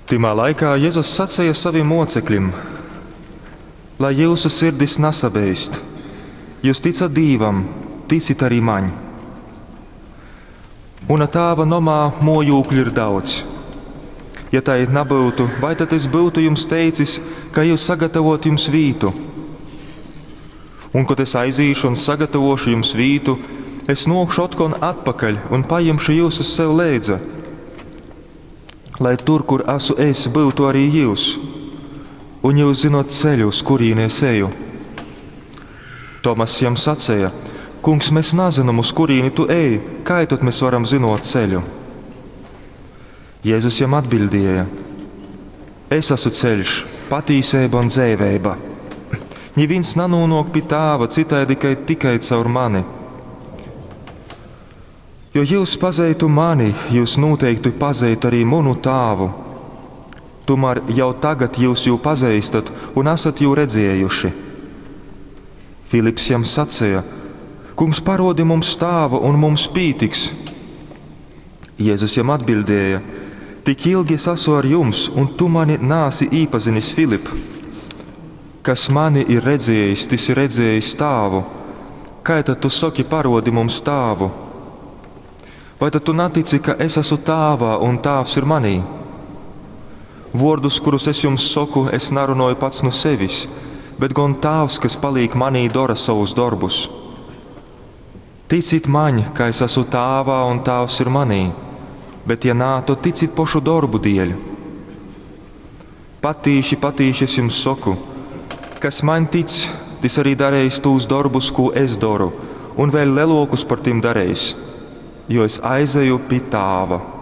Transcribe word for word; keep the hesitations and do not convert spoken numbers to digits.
Tymā laikā Jezus saceja sovim mōceklim: Lai jyusu sirdis nasabeist. Jyus ticat Dīvam, ticit arī maņ. Muna tāva nomā mōjūkļu ir daudz. Ja tai nabyutu, vai tad es byutu jums teicis, ka eju sagatavot jums vītu? Un, kod es aizīšu un sagatavošu jums vītu, es nōkšu otkon atpakaļ un pajimšu jyusus sev leidza, lai tur, kur esmu es, byutu arī jyus. Un jyus zinot ceļu, uz kurīni es eju. Tomass jam saceja: Kungs, mēs nazinām, uz kurīni tu ej, kā tad mēs varam zinot ceļu? Jēzus jam atbildēja: Es esmu ceļš, patīseiba un dzeiveiba. Nivīns nanūnok pi tāva citaidi, kai tikai caur mani. Jo jūs pazeitu mani, jūs noteikti pazeitu arī munu tāvu. Tomēr jau tagad jūs jū pazīstat un esat jū redzējuši. Filips jam sacīja: Kungs, parodi mums tāvu, un mums pītiks. Jēzus jam atbildēja: Tik ilgi es esmu ar jums, un tu mani nāsi īpazinis, Filip. Kas mani ir redzējis, tas ir redzējis tāvu. Kā tad tu saki, parodi mums tāvu? Vai tad tu netici, ka es esmu tāvā un tāvs ir manī? Vārdus, kurus es jums saku, es narunoju pats no sevis, bet gan tāvs, kas paliek manī, dara savus darbus. Ticit man, ka es esmu tāvā un tāvs ir manī, bet ja nā, tad ticit pošu darbu dēļ. Patīši, patīši es jums saku, kas man tic, tas arī darīs tūs darbus, ko es daru, un vēl lielākus par tiem darīs, jo es aizeju pie tāva.